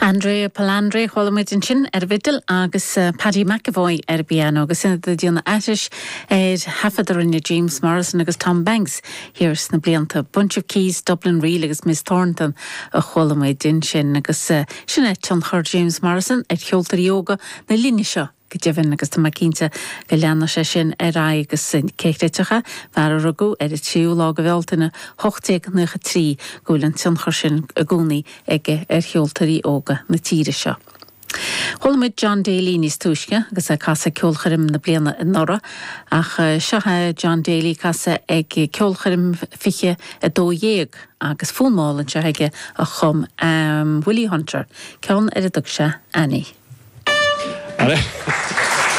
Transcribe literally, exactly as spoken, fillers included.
Andrea Palandri chuala muid ansin ar bhfidil agus uh, Paddy McEvoy ar piano agus sin ag déanamh aithris ar thaifead a rinne James Morrison agus Tom Banks thiar sna blianta Bunch of Keys, Dublin Reel agus Miss Thornton a chuala muid ansin agus uh, sin é tionchar James Morrison ar cheoltóirí óga na linne seo. Go deimhin agus tá mé cinnte go leanfaidh sé sin ar aghaidh agus cé chreidfeadh fear a rugadh ar an tríú lá de Bhealtaine ocht déag nócha trí go bhfuil an tionchar sin i gcónaí aige ar cheoltóirí óga na tíre seo. Chuala muid John Daly níos túisce agus é ag casadh ceolchoirm na bliana anuraidh ach seo é John Daly ag casadh ag ceolchoirm fiche a dó dhéag agus fonn mall anseo aige a chum um, Willie Hunter, ceann ar a dtug sé Annie. Annie.